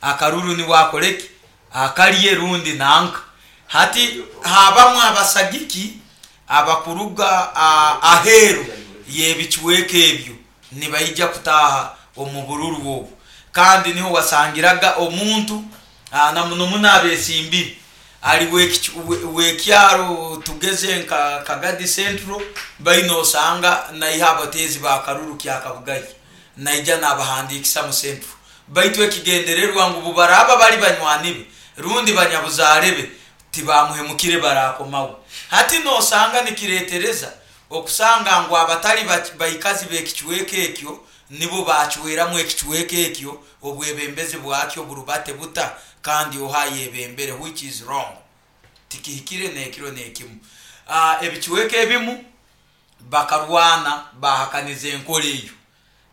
Akaruru niwe akoreki? Akalye rundi nanka. Hati habamu abasagiki abakuruga aheeru y'ebicweka ebyo nibaija kutaaha omu bururu obu. Kandi niho wasangiraga omuntu na muno muno abesimbire ali w'ekyaro tugeze nka Kagadi Central, baine osanga naiha abateezi b'akaruru Kyakabugayi naija nabahandiikisa mu Central. Baitu ekigendererwa ngu bubaraaba bali banywani be rundi banyabuzaale be tibamuhemukire barakomaho. Hati nosanga nikiretereza okusanga ngu abatali baikazi b'ekicweka ekyo nibo bacweramu ekicweka ekyo obwebembezi bwakyo burubate buta kandi oha ayebembere, which is wrong. Tikihikire n'ekiro n'ekimu. Ebicweka ebimu bakarwana bahakaniza enkora eyo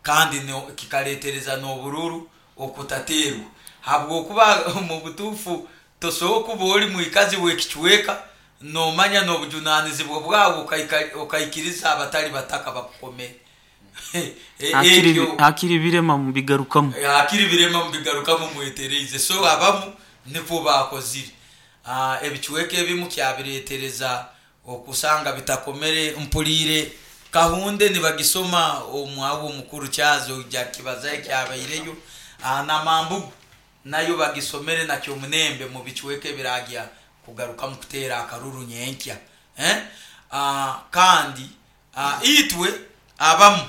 kandi kikaletereza n'obururu okutateerwa habwokuba omu butuufu tosobora kuba oli mwikazi w'ekicweka nomanya n'obujunanizibwa bwawe okaikiriza abatali bataka bakukomere. Ekyo Hakiri birema mubigarukamu. Hakiri birema mubigarukamu mwetereize. So abamu nikwo baakozire. Ebicweka ebimu kyabiretereza okusanga bitakomere. Mpuliire Kahunde nibagisoma omwawe omukuru Charles oija kukibazaho ekyabaireyo. Na Mambugu nayo bagisomere na Kyomunembe mu bicweka ebiragya kugarukamu kuteera akaruru nyenkya. Kandi itwe abamu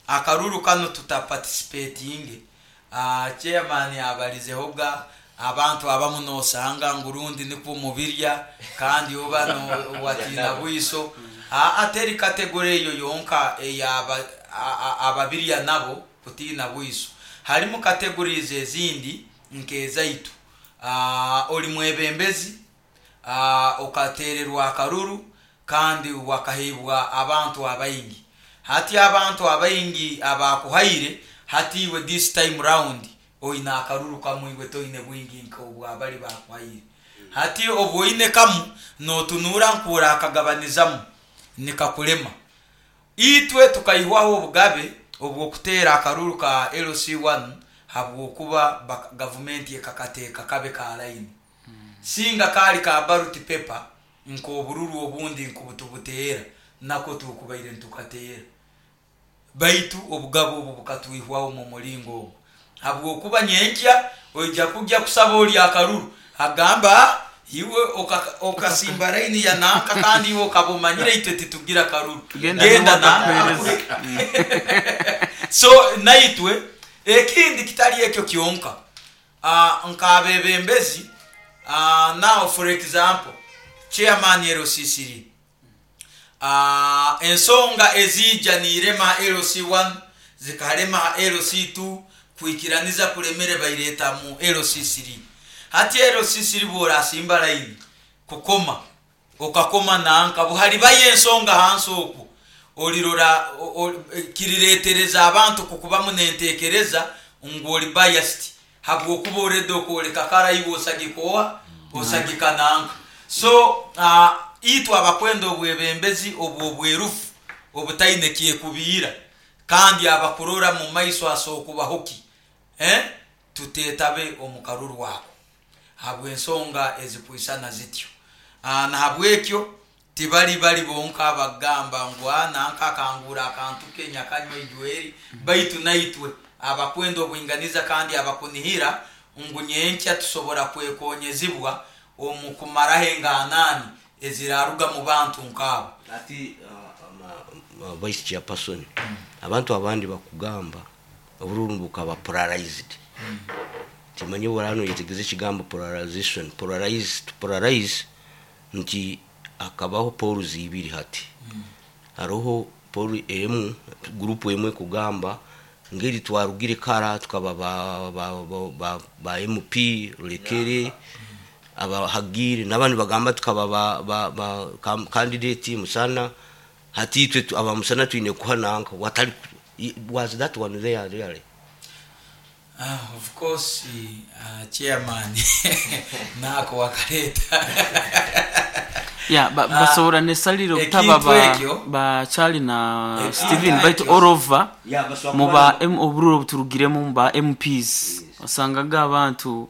akaruru kanu tutaparticipatinge. Chairman abalizehoga abantu abamu nosanga ngu rundi nikwo mubirya kandi oba watiina bwiso. Teri kategore eyo yonka eya ababirya nabo kutiina bwiso. Harimu categories ezindi nk'ezaitu. Oli mwebembezi, okatererwa akaruru kandi wakaheibwa abantu abaingi. Hati abantu abaingi abakuhaire, hati iwe this time round oine akaruru kamu, iwe toine bwingi nk'obwabali bakuhaire. Hati obu oine kamu notunuura nkorakagabanizamu nikakulema. Itwe tukaihwaho obugabe obw'okuteera akaruru ka LC1 habwokuba gavumenti ekakateeka kabe ka line. Singa kaali ka ballot paper nk'obururu obundi nkubutubuteera nako tukubaire nitukateera. Baitu obugabe obu bukatwihwaho omu muringo ogu habwokuba nyenkya oija kugya kusaba ori akaruru agamba iwe okasimba line ya nanka kandi iwe okaba omanyire itwe titugira karuru genda nanka. So naitwe ekindi kitali ekyo kyonka, nk'abebembezi, now for example chairman LC3, ensonga eziija niirema ha LC1 zikarema ha LC2, kwikiraniza kulemere baireta mu LC3. Hati LC3 bw'orasimba line kukoma okakoma nanka buhalibayo ensonga hansi okwo olirora kiriretereza abantu kukubamu n'entekereza ngu oli biased habwokuba already okwoleka kara iwe osagika oha osagika nanka. So itwe abakwenda obwebembezi obw'obwerufu obutaine kyekubiira kandi abakurora mu maiso asokubaho ki, tutetabe omu karuru ako habw'ensonga ezikwisana zityo. Nahabwekyo tibali bali bonka abagamba ngu nanka akangura akantu ke nyakanywa ijweri, baitu naitwe abakwenda obwinganiza kandi abakunihira ngu nyenkya tusobora kwekonyezibwa omu kumaraho enganani eziraruga mu bantu nk'abo. Ati vice chairperson, abantu abandi bakugamba obururu bukaba polarized. Timanye burano yetegeze ekigambo polarization. Polarized, to polarize nti akabaho poles ibiri. Hati hariho pole emu, group emwe kugamba ngeri twarugire kara tukaba ba MP Rulekere abahagire, n'abandi bagamba tukaba ba candidate Musana, hati itwe aba Musana twine kuha nanka watali. Was that one there really? Of course, chairman nako wakaleta. Ya basobora nesalire obutaba Ekintu ekyo ba Charlie na Ekintu Steven, baitu ekyo all over Yeah, basobora mu kuba ba obururu obuturugiremu mu ba MPs osangaga abantu.